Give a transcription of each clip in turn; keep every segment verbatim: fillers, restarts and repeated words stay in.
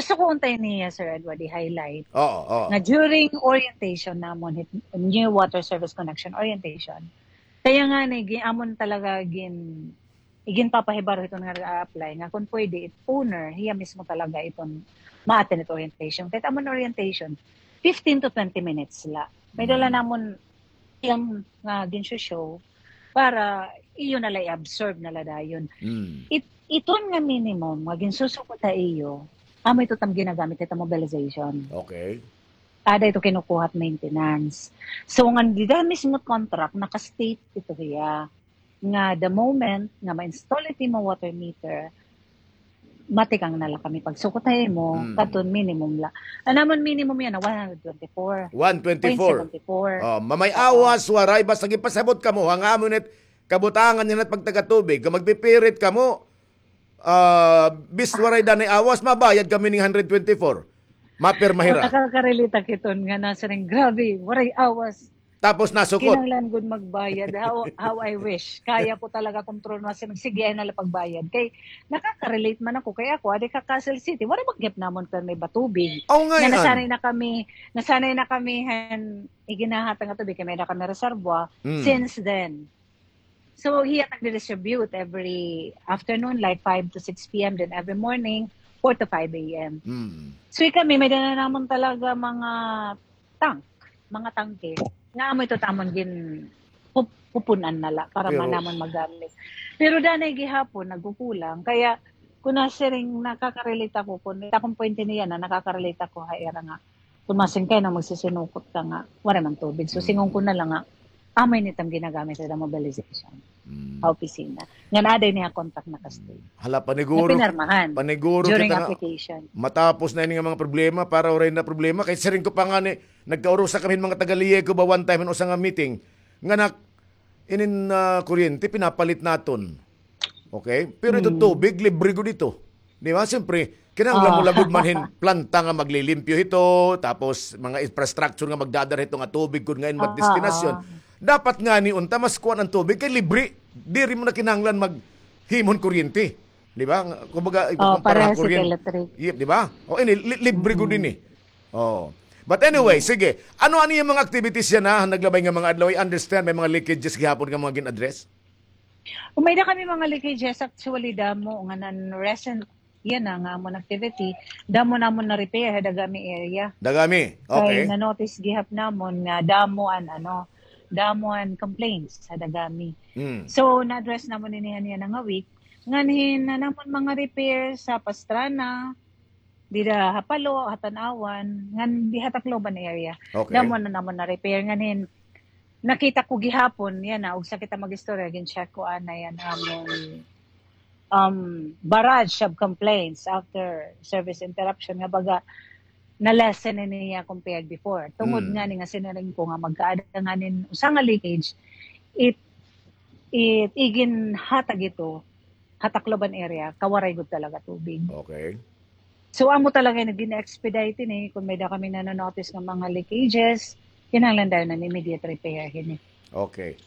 Gusto ko untay niya, Sir Edward, i-highlight. Oo, oo. Nga during orientation namon, hit-, new water service connection orientation, kaya nga ni, gi-, amon talaga gin-, iginpapahibaro hiton nga nag-a-apply nga kung pwede, it owner, hiya mismo talaga iton ma-attend it orientation. Kahit amon orientation, fifteen to twenty minutes la. May dala namon iyang nga ginsho-show para iyo na la i-absorb na la dayon. It, iton nga minimum nga ginsusugod ha iyo, amo ito tam ginagamit ito mobilization. Okay. Ada ito kinukuha at maintenance. So, nga dida mismo contract, naka-state ito hiya nga the moment nga ma-install it imo water meter, matikang na la kami pagsukot ha imo, kadton minimum la. An amon minimum yana, one hundred twenty-four. One twenty-four. Point seven four. Oh, mamay awas, waray, basta gipasabot kamo, ha, nga amo nit kabutangan yana it pagtaga-tubig, kung magpipirit kamo, ah, bis waray danay awas, mabayad kami ning hundred twenty-four. Mapirma hira. Nakaka-relate ak hiton nga nasiring, grabe, waray awas. Tapos nasukot. Kinahanglan gud magbayad. How, how I wish. Kaya ko talaga kontrol, nasiring, sige, ay na la pagbayad. Kay, nakaka-relate man ako. Kay ako, adi ka Castle City, waray man gihap namon pirmi ba tubig. Aw, nga nasanay na kami, nasanay na kami han iginahatag nga tubig, kay may-ada kami reservoir. Since then, So, hiya nagdi-distribute every afternoon, like five to six P M, then every morning, four to five A M. So, kami, may dala namon talaga mga tank, mga tangke. Nga amo ito tamon gin-, pup-, pupunan na la para man namon magamit. Pero danay gihapon, nagkukulang. Kaya, kung nasiring, nakaka-relate ako, kung, akong point niya na, nakaka-relate ako, ha, ira nga, kung masingkay na magsisinukot ka nga, waray man tubig. So, singon ko na la nga, amo ini it am ginagamit ha mobilization. Ha opisina. Ngan aday niya contact na ka-state. Hala, paniguro. Na pinirmahan. Paniguro during kita nga application. Matapos na ini nga mga problema, para waray na problema. Kay siring ko pa ngani, nagkaurusa kami mga taga-Liyeco ba one time, usa nga meeting. Nga nak-, inin, ah, kuryente, pinapalit naton. Okay? Pero ito tubig, libre gud ito. Di ba? Siyempre, kinahanglan mo la gud man hin planta nga maglilimpyo hito, tapos mga infrastructure nga magdadara hito nga tubig gud nga in magdestinasyon. Dapat ngani unta mas kuan an tubig kay libre. Diri mo na kinahanglan maghimo hin kuryente. Di ba? Kumbaga, ikukumpara han kuryente. Electric. Yep, di ba? O, ini, li-, libre gud ini. Oh. But anyway, sige. Ano, ano yung mga activities yana, naglabay nga mga adlaw? I understand, may mga leakages gihapon nga mga gin-address? Kung may da kami mga leakages, actually, damo nga nan-, recent, yana nga amon activity, damo namon na-repair ha Dagami area. Dagami, okay. Kay na-notice gihap namon nga damo an, ano, damo an complaints ha Dagami. So, na-address namon ini han yana nga week. Nganhin na namon mga repair sa Pastrana, dida ha Palo, ha Tanauan, ngan diha Tacloban area. Okay. Damo na namon na-repair. Nganhin, nakita ko gihapon, yana, ugsa kita mag-istorya, gin-check ko anay an amon, um, barrage of complaints after service interruption, nga baga, na-lessen na niya compared before. Tungod ngani nga sinaring ko nga magkaada nganin usa nga leakage, it, it, iginhatag ito ha Tacloban area, kawaray gud talaga tubig. Okay. So, amo talaga nga gin-expedite ini, kung may da kami na-notice nga mga leakages, kinahanglan dayon an immediate repair hini. Okay.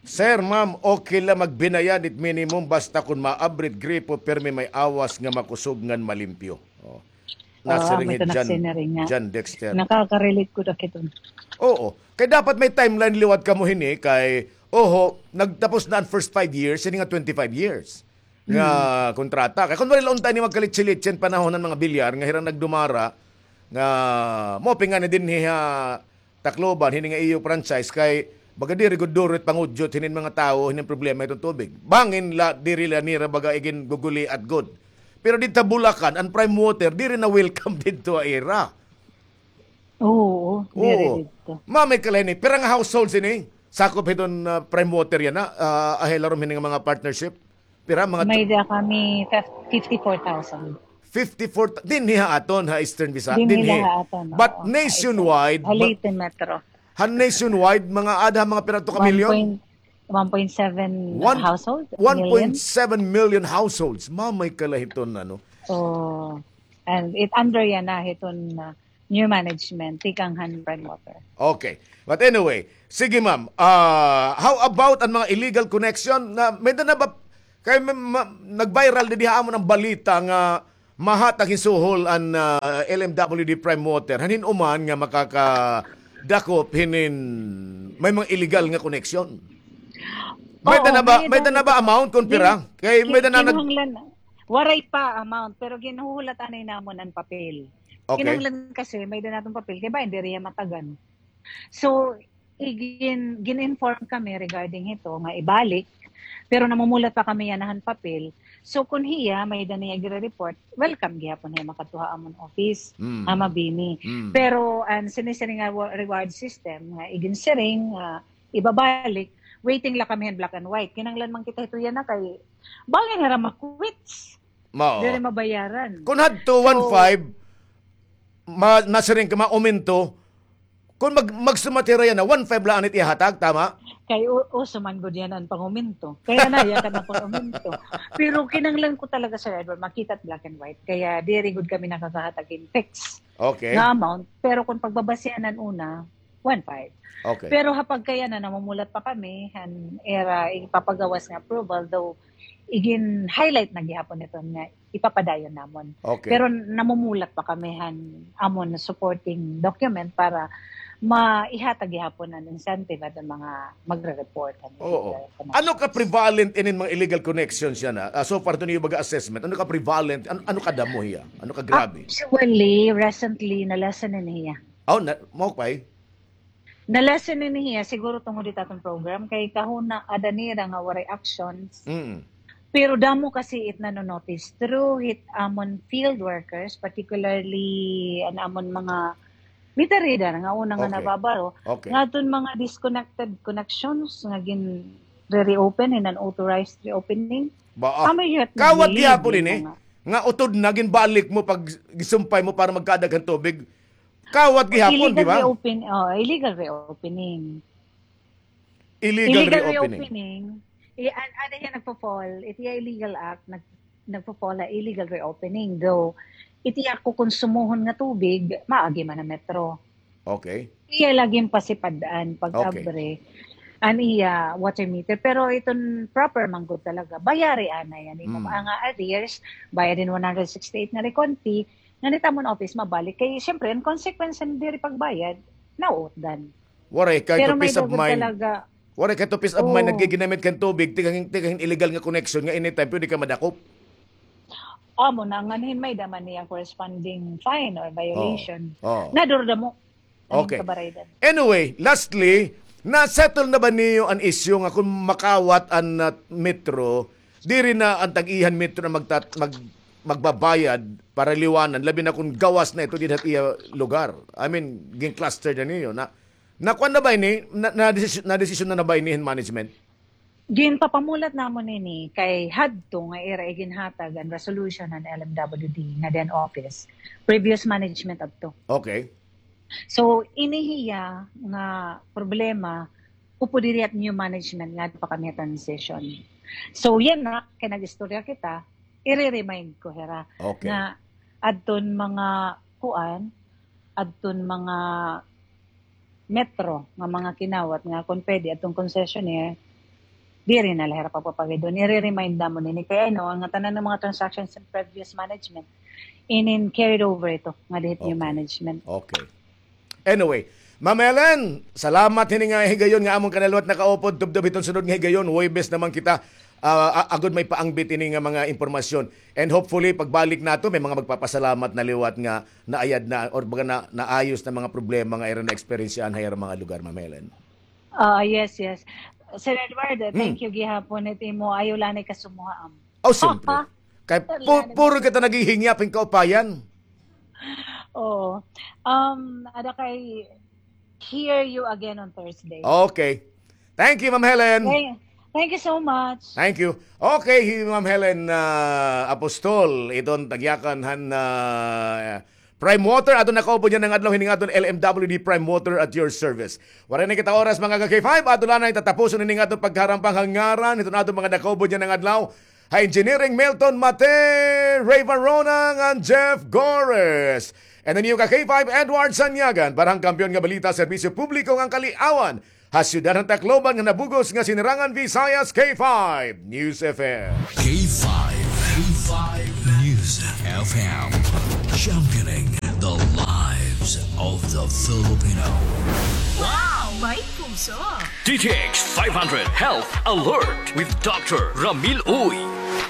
Sir, ma'am, okay la magbinayad it minimum basta kun maabri it gripo, pirmi may awas nga makusog ngan malimpyo. Oh. Nasiring hi John, John Dexter. Nakaka-relate ko da kiton. Oo. Kay dapat may timeline liwat kamo hini kay, oho, nagtapos na an first five years, hini nga twenty-five years nga kontrata. Kay kun waray la unta ini magkalitsi-litsi an panahon han mga bilyar nga hira nagdumara nga maupay ngani dinhi ha Tacloban, hini nga iyo franchise kay baga diri gud duro it pangudyot hinin mga tawo hinin problema hiton tubig. Bangin la diri la nira baga iginguguliat gud. Pero didto ha Bulacan, an Prime Water diri na welcome didto ha ira. Oo, diri didto. Ma'am, may kalain ni. Pira nga households ini? Sakop hiton, ah, Prime Water yana, ah, ahilarom hini nga mga partnership? Pira mga May da kami fif-, fifty-four thousand. Fifty-four, dinhi ha aton, ha Eastern Visayas, dinhi. Dinhi ha aton, oo. But nationwide, ha Leyte Metro. Ha nationwide, mga ada, mga pira to ka milyon? One point, one point seven household, million. One point seven million households. Ma'am, may kalain hiton, ano? Oo. And it under yana hiton, uh, new management, tikang han Prime Water. Okay. But anyway, sige, ma'am. Ah, how about an mga illegal connection? Na, may da na ba, kay ma-, ma-, nag-viral didi ha amon an balita nga mahatag hin suhol an, ah, L M W D Prime Water han hin-o man nga makakadakop hinin may mga illegal nga koneksyon? May-ada na ba, may-ada na ba amount kon pira? Kay may-ada na nag- Waray pa amount, pero ginhuhulat anay namon an papel. Okay. Kinahanglan kasi may-ada naton papel kay bangin diri hiya matagan. So, igin-, gin-inform kami regarding hito nga ibalik, pero namumulat pa kami yana han papel. So, kon hiya may-ada niya gire-report, welcome gihapon hiya makadto ha amon office, ha Mabini. Pero an sinisiring nga wa-, reward system nga iginsiring nga ibabalik, waiting la kami han black and white. Kinahanglan man kita hito yana kay bangin hira ma-quits. Mao. Diri mabayaran. Kon hadto one five, ma-, nasiring ka, maumento. Kon mag-, magsumat hira yana, one five la an it ihahatag, tama? Kay u-, uso man gud yana an pangumento. Kay yana, yana an pangumento. Pero kinahanglan ko talaga, Sir Edward, makita it black and white. Kaya diri gud kami nakakahatag hin fix nga amount. Pero kon pagbabasihan an una, one five. Okay. Pero ha pagkayana, namumulat pa kami han ira ipapagawas nga approval, though igin-highlight na gihapon ito nga ipapadayon namon. Okay. Pero namumulat pa kami han amon supporting document para maihatag gihapon an incentive aton mga magre-report han illegal connection. Ano ka prevalent inin mga illegal connections yana? Ah, so far, ito niyo baga assessment. Ano ka prevalent? Ano, ano kadamo hiya? Ano kagrabe? Actually, recently, na-lessen ini hiya. Oh, na, mao pa eh. Na-lessen ini hiya, siguro tungod hit aton program, kay kahuna ada nira nga waray actions. Mm. Pero damo kasi it nano-notice through hit amon field workers, particularly an amon mga meter reader nga una nga nababaro, nga aton mga disconnected connections nga gin-reopen in an unauthorized reopening. Ba, ah, kawat gihapon ini nga utod na ginbalik mo pag gisumpay mo para magkaada hin tubig. Kawat gihapon, di ba? Illegal reopen-, oh, illegal reopening. Illegal reopening. I-, an-, ano hiya nagpo-fall? It iya illegal act, nag-, nagpo-fall ha illegal reopening. Though, it iya kukonsumohon nga tubig, maagi man ha Metro. Okay. Iya la ginpasipad-an pag-abre an iya water meter. Pero iton proper man gud talaga, bayari anay an imo mga arrears, bayad in one hundred sixty-eight nga recounty, ngan it amon office mabalik. Kay, siyempre, an consequence han diri pagbayad, nauutdan. Waray kay to peace of mind. Waray kay to peace of mind, naggiginamit kan tubig, tikang, tikang illegal nga connection nga anytime pwede ka madakop. Amo na, ngan hin may-ada man niya corresponding fine or violation. Oh. Nadurdamo. Okay. Anyway, lastly, na-settle na ba niyo an issue nga kon makawat an, ah, Metro, diri na an tag-iya han Metro na magtat-, mag-, magbabayad para liwanan, labi na kon gawas na ito dinhi ha iya lugar? I mean, gin-cluster na niyo na, nakuan na ba ini? Na, na-desisyon, na-desisyon na, na ba ini hin management? Ginpapamulat namon ini kay hadto nga ira iginhatag an resolution han L M W D nga then office, previous management adto. Okay. So, ini hiya nga problema, upod diri hit new management ngadto pa kami ha transition. So, yana, kay nag-istorya kita, ire-remind ko hira nga adton mga kuan, adton mga Metro nga mga kinawat nga kon pwede adton concessionaire, diri na la hira pagpapagidon. Ire-remind namon ini kay ano, nga tanan nga mga transactions in previous management, inin carried over ito nga dinhi hit new management. Okay. Anyway, Ma'am Helen, salamat hini nga higayon nga amon ka na liwat nakaupod. Tubtob hiton sunod nga higayon, Huwebes naman kita, ah, a-, agod may paangbit ini nga mga impormasyon. And hopefully, pagbalik nato, may mga magpapasalamat na liwat nga naayad na, or baga na, naayos na mga problema nga ira na-eksperyensyahan ha ira mga lugar, Ma'am Helen. Ah, yes, yes. Sir Edward, thank you gihapon it imo, ayaw la anay kasumuha, am. Oh, siyempre. Kay pu-, puro kita naghihingyap hin kaupayan. Oo. Um, ada kay hear you again on Thursday. Okay. Thank you, Ma'am Helen. Thank, thank you so much. Thank you. Okay, hi Ma'am Helen, ah, Apostol, iton tagyakan han, ah, Prime Water, aton nakaupod yana nga adlaw hini nga aton L M W D Prime Water at your service. Waray na kita oras, mga ka-K five, aton la anay tatapuson hini nga aton pagkaharampang ha ngaran hiton aton mga nakaupod yana nga adlaw. Ha engineering, Milton Mate, Ray Varona, ngan Jeff Gores. And the new ka-K five, Edward Sanyagan, para han Kampiyon nga Balita, Serbisyo Publiko ngan Kaliawan, ha siyudad han Tacloban nga nabug-os nga Sinirangan Visayas, K five News F M. K five, K five News. F M, championing the lives of the Filipino. Wow! May puso! D T X five hundred Health Alert with Doctor Ramil Uy.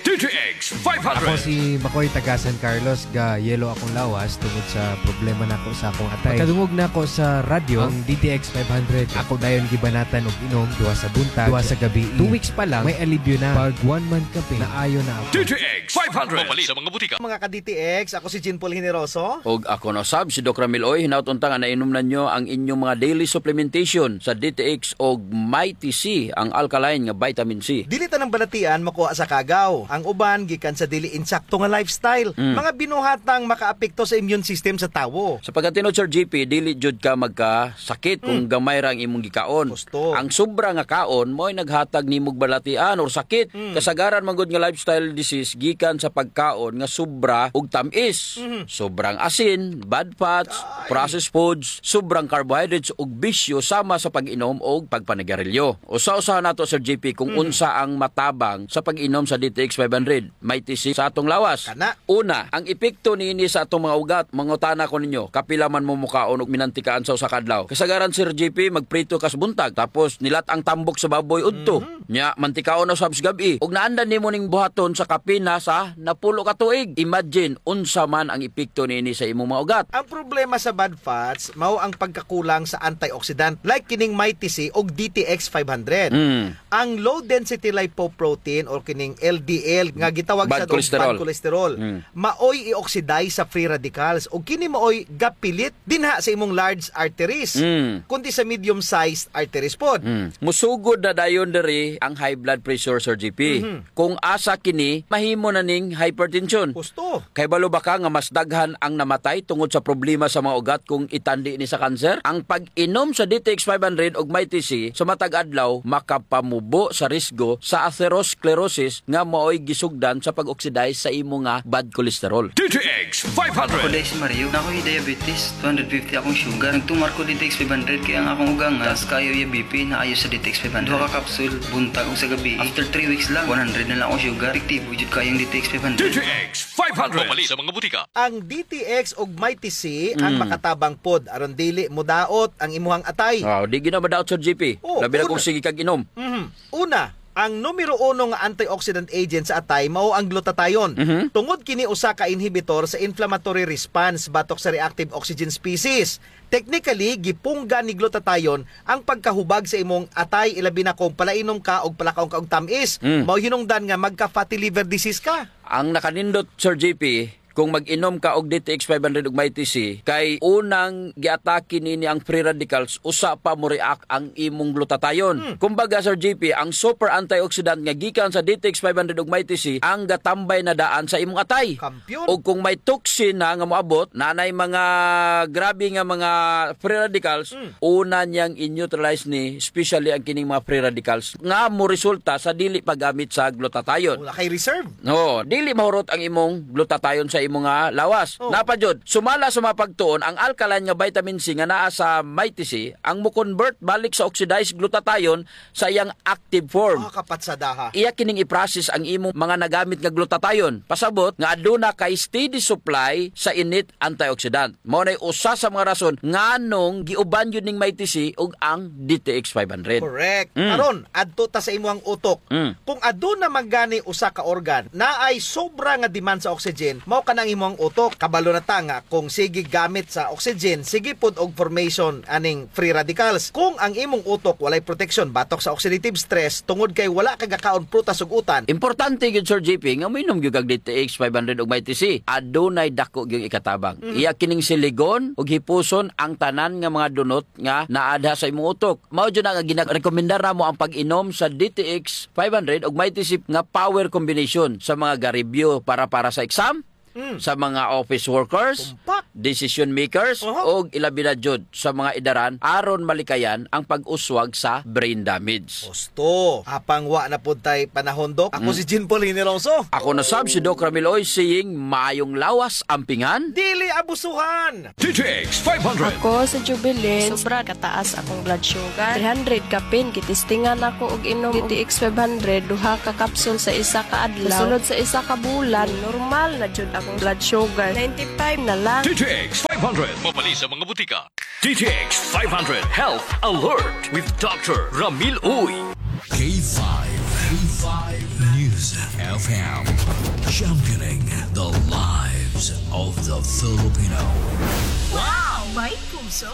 D T X five hundred. Ako si Makoy, taga San Carlos, ga yellow akong lawas tungod sa problema nako sa akong atay. Pagkadungog nako sa radyo, ang D T X five hundred, ako dayon gibanatan og inom, duha sa buntag, duha sa gabi. Two weeks pa lang, may alibyo na. Pag one month ka, naayo na ako. D T X five hundred. Mapalit sa mga butika. Mga ka-D T X, ako si Jean Paul Generoso. Og ako na sab, si Doc Ramil Uy. Hinaot unta nga nainom na niyo ang inyong mga daily supplementation sa D T X og Mighty C, ang alkaline nga vitamin C. Dili tanang balatian makuha sa kagaw. Ang uban gikan sa dili insakto nga lifestyle. Mm. Mga binuhatang makaapekto sa immune system sa tawo. Sa pagkatinuod, Sir G P, dili jud ka magkasakit kung gamay ra ang imong gikaon. Gusto. Ang sobra nga kaon mao'y naghatag nimog balatian or sakit. Mm. Kasagaran man gud nga lifestyle disease gikan sa pagkaon nga sobra og tamis. Mhm. Sobrang asin, bad fats, processed foods, sobrang carbohydrates ug bisyo sama sa pag-inom og pagpanigarilyo. Usa-usahan nato, Sir G P, kung unsa ang matabang sa pag-inom sa D T X five hundred. Mighty C sa atong lawas. Kana. Una, ang epekto niini sa atong mga ugat. Mangutana ko ninyo, kapila man mo mukaon og minantikaan sa usa ka adlaw? Kasagaran, Sir G P, magprito ka sa buntag, tapos nilat-ang tambok sa baboy udto. Mhm. Nya, mantikaon na usab sa gab-i. Ug naandan nimo ning buhaton sa kapin na sa napulo ka tuig. Imagine, unsa man ang epekto niini sa imong mga ugat. Ang problema sa bad fats, mao ang pagkakulang sa antioxidant, like kining Mighty C ug D T X five hundred. Mm. Ang low density lipoprotein or kining L D L nga gitawag sad og bad cholesterol, maoy i-oxidize sa free radicals ug kini maoy gapilit dinha sa imong large arteries, mm, kundi sa medium-sized arteries pod. Mm. Musugod na dayon diri ang high blood pressure, Sir G P. Mhm. Kung asa kini, mahimo na ning hypertension. Husto. Kay balo ba ka nga mas daghan ang namatay tungod sa problema sa mga ugat kung itandi ni sa kanser? Ang pag-inom sa D T X five hundred ug Mighty C sa matag adlaw makapamubo sa risgo sa atherosclerosis nga maoy gisugdan sa pag-oxidize sa imo nga bad cholesterol. D T X five hundred. Ako day si Mario, na ako'y diabetes, two hundred fifty akong sugar. Nagtumar ko D T X five hundred kay ang akong ugangan taas kayo iya B P, naayo sa D T X five hundred. Duha ka kapsul, buntag ug sa gabi. After three weeks lang, one hundred na lang akong sugar. Epektibo jud kayo ang D T X five hundred. D T X five hundred. Mapalit sa mga butika. Ang D T X ug Mighty C ang makatabang pod aron dili modaot ang imuhang atay. Wow, di gyud na madaot, Sir G P. Oh, labi na kung sige kag inom. Mhm. Una, ang numero uno nga antioxidant agent sa atay mao ang glutathione. Mhm. Tungod kini usa ka inhibitor sa inflammatory response batok sa reactive oxygen species. Technically, gipungga ni glutathione ang pagkahubag sa imong atay, ilabi na kung palainom ka og palakaon ka og tam-is. Mm. Mao hinungdan nga magka-fatty liver disease ka. Ang nakanindot, Sir G P, kung mag-inom ka og D T X five hundred ug Mighty C, kay unang giatake nini ang free radicals, usa pa mo-react ang imong glutathione. Hmm. Kumbaga, Sir G P, ang super antioxidant nga gikan sa D T X five hundred ug Mighty C ang gatambay na daan sa imong atay. Kampiyon. Ug kung may toxin na nga moabot, nanay mga grabe nga mga free radicals, hmm, una niyang i-neutralize ni, especially ang kining mga free radicals nga moresulta sa dili paggamit sa glutathione. Wala kay reserve. No, dili mahurot ang imong glutathione sa imong nga lawas. Oh. Naa pa jud, sumala sa mga pagtuon, ang alkaline nga vitamin C nga naa sa Mighty C ang mo-convert balik sa oxidized glutathione sa iyang active form. Ah, kapatsadaha. Iya kining i-process ang imong mga nagamit nga glutathione. Pasabot nga aduna kay steady supply sa init antioxidant. Mao nay usa sa mga rason nganong giuban jud ning Mighty C ug ang D T X five hundred. Correct. Mm. Karon, adto ta sa imuhang utok. Mm. Kung aduna man gani usa ka organ naay sobra nga demand sa oxygen, mao kana ang imuhang utok. Kabalo na ta nga kung sige gamit sa oxygen, sige pod og formation aning free radicals. Kung ang imong utok walay proteksyon batok sa oxidative stress tungod kay wala ka gakaon prutas ug utan. Importante gyud, Sir G P, nga moinom gyud kag D T X five hundred ug Mighty C. Adunay dako gyud ikatabang. Mhm. Iya kining siligon ug hipuson ang tanan nga mga dunot nga naa diha sa imong utok. Mao jud na nga ginarekomendar namo ang pag-inom sa D T X five hundred ug Mighty C nga power combination sa mga ga-review para, para sa exam, Mm. Sa mga office workers, Tumpak. decision makers, Oho. ug ilabi na jud sa mga edaran aron malikayan ang pag-uswag sa brain damage. Husto. Apang wa na pod tay panahon, Doc. Ako Mm. si Jean Paul Hinilongso. Ako na sab si Doc Ramil Uy, saying, maayong lawas, ampingan. Dili abusuhan. D T X five hundred. Ako si Jubilin. Sobra kataas akong blood sugar. Three hundred kapin, gitistingan ako og inom og D T X five hundred, duha ka capsule sa isa ka adlaw. Sulod sa isa ka bulan, normal na jud akong blood sugar. Ninety-five na lang. D T X five hundred. Mabali sa mga butika. D T X five hundred Health Alert with Doctor Ramil Uy. K five, K five News F M, championing the lives of the Filipino. Wow! May puso!